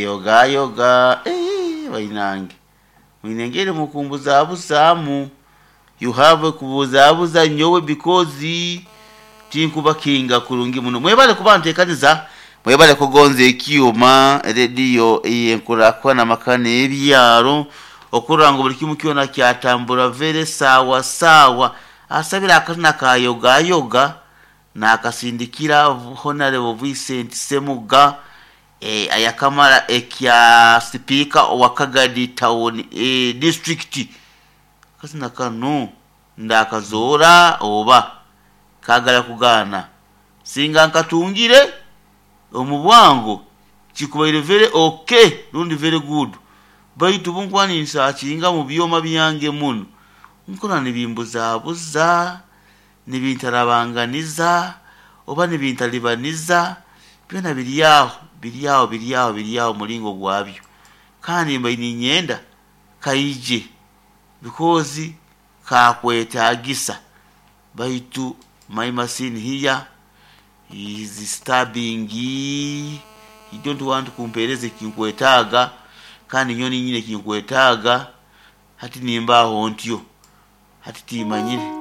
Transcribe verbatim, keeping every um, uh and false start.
Yogayoga eh, bainange mwine engeri mukumbuzabuzaamu. You have kubuzabuza nyowe because tinkubakinga kurungi muno. Mwebale kuba ntekaniza, mwebale kugonza ekyuma rediyo eyenkurakwana makana ebyaro okurora ngu buli kimu kyona kyatambura vere sawa sawa. Asabira akazina ka yogayoga nakasindikira Honorable Vincent Semuga, eh, ayakamara ekya sipiika owa Kagadi Town, eh, district. Akazina kano ndakazoora oba kagala kugaana singa nkatungire omu bwangu kikubaire very okay rundi very good, baitu bunkuba ninsakinga mu byoma byange muno nkora nibimbuzaabuza, nibintarabanganiza oba nibintalibaniza. Byona biri aho, biri aho, biri aho, biri aho mulingo gwabyo, kandi mbaire ninyenda kaije because kakwetagisa, baitu my machine here is stabbing. He don't want kumpereza ekinkwetaaga, kandi nyowe ninyine ekinkwetaaga. Hati nimbaho ntyo, hati timanyire.